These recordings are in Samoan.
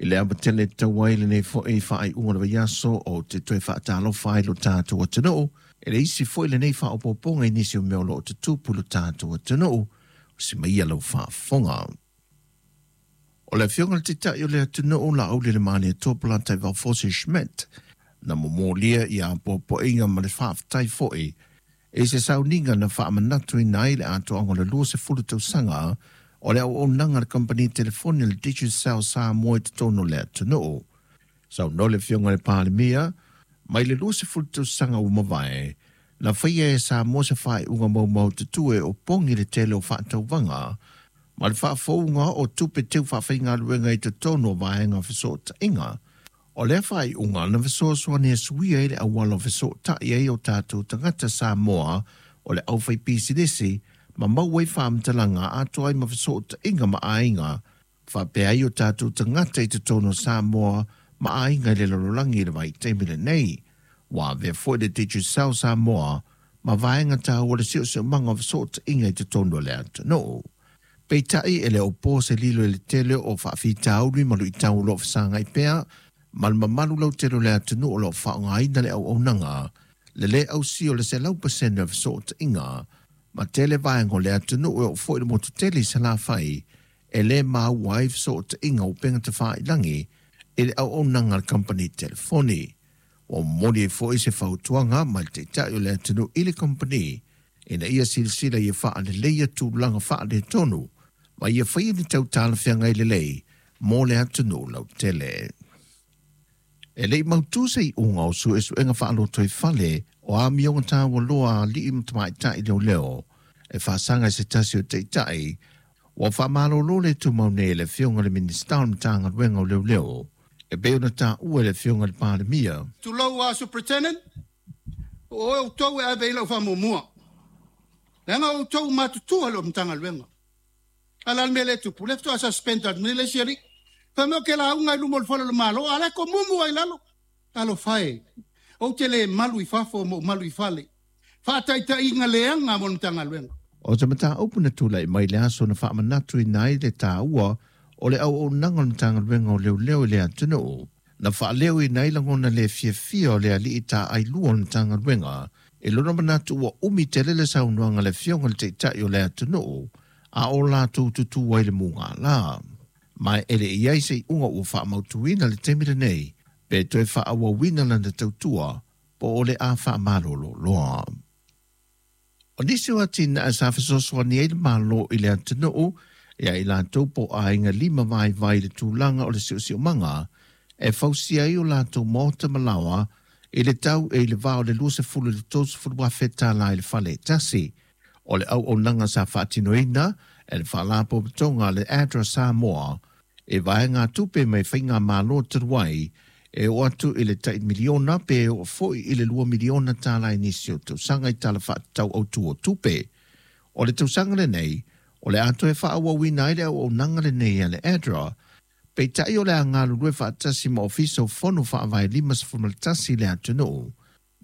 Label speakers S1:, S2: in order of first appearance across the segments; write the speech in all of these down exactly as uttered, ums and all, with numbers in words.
S1: I le ava tele tau ai lenei fo'i faaiuga o le vaiaso o te toe faatalofa ai lo tatou atunuu. E le isi fo'i lenei faaopoopoga i nisi o mea o loo tutupu lo tatou atunuu, si maia lau faafofoga. O le afioga le Taitai o le atunuu Laaulialemalietoa Polataivao Fosi Schmidt na momolia ia popoiga ma le faafetai fo'i e se sauniga na faamanatuina ai le atoaga o le luasefulu tausaga o le auaunaga a le kamupani telefoni le Digicel Samoa i totonu o le atunuu. Saunoa le afioga i le Palemia, mai le luasefulu tausaga ua mavae, na faia e Samoa se faaiuga maumaututu e opogi le tele o faatauvaga ma le faafouga o tupe teu faafaigaluega i totonu o vaega fesootaiga. O lea faaiuga na fesoasoani e suia ai le auala o fesootai ai o tatou tagata Samoa o le aufaipisinisi ma maua ai faamatalaga atoa ai ma fesootaiga ma aiga faapea ai o tatou tagata i totonu o Samoa ma aiga i le lalolagi i le vaitaimi lenei. Ua avea foi le Digicel Samoa ma vaega taua le siosiomaga o fesootaiga i totonu o le atunuu. Peitai e le o po se lilo i le tele o faafitauli ma luitau o loo fesagai pea ma le mamalu lautele o le atunuu o loo faaaogaina le auaunaga le lē ausia o le selau pasene o fesootaiga ma tele vaega o le atunuu e oo foi le motu tele i Salafai e lē maua ai fesootaiga o upega tafailagi i le auaunaga a le kamupani telefoni. Ua momoli ai foi se fautuaga mai le Taitai o le atunuu i le kamupani ina ia silasila ia faaleleia tulaga faaletonu ma ia faia ni tau talafeagai lelei mo le atunuu lautele. E le i mautū se iuga o suesuega faalotoifale o amioga taualoa a alii ma tamaitai leoleo e faasaga i se tasi o taitai ua faamalōlō le tumau nei e le afioga i le Minisita o le Matagaluega o Leoleo e pei ona taua e le afioga i le Palemia.
S2: Tulou a Superintendent, o oe outou e ave i lau faamuamua. Leaga o outou matutua le o Matagaluega. A la le mea le tupu, le faatoa suspend atu nei le isi alii. Fai mai o ke lauga i luma o le fale o le Malo, a le ko mumu ai lalo. Talofa e, ou te le malu i fafo ma ou malu i fale. Faataitaiga leaga mo le Matagaluega.
S1: O se mataupu na tulai mai le aso na faamanatuina ai le taua o le auaunaga o le Matagaluega o Leoleo i le atunuu. Na faaleoina ai lagona le fiafia o le alii taailua o le Matagaluega i lona manatu ua umi tele le saunoaga a le afioga i le Taitai o le atunuu a o latou tutū ai le mugala. Ma e le i ai se iuga ua faamautuina i le taimi lenei pe toe faaauauina lana tautua po o le a faamalolo loa. O nisi o atinae sa fesoasoani ai le Malo i le atunuu ia i latou po o aiga lima vaivai i le tulaga o le siosiomaga e fausia ai o latou maota ma laoa i le tau e i le va o le luasefulu i le tolusefulu afe tālā i le fale e tasi. O le auaunaga sa faatinoina e le Faalapotopotoga a le ADRA Samoa e vaegatupe mai faigamalo talu ai e oo atu i le tai miliona pe oo foi i le lua miliona tālā i nisi o tausaga i Tala Faatatau Autū o Tupe. O le tausaga lenei, o le a toe faaauauina ai le auaunaga lenei a le ADRA, peitai o le a galulue faatasi ma Ofisa o Fono Faavae limasefulu ma tasi i le atunuu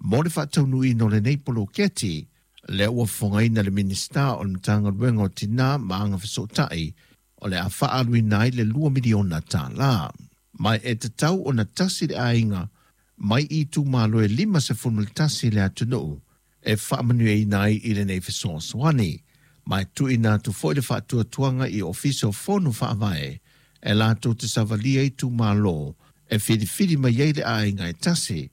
S1: mo le faataunuuina o lenei poloketi. Lea ua fofogaina le Minisita o le Matagaluega o Tinā ma Agafesootai o le a faaaluina ai le lua miliona tālā. Ma e tatau ona tasi le aiga mai i itumalo e limasefulu ma tasi i le atunuu e faamanuiaina ai i lenei fesoasoani. Ma e tuuina atu foi le faatuatuaga i Ofisa o Fono Faavae e latou te savalia itumalo e filifili mai ai le aiga e tasi.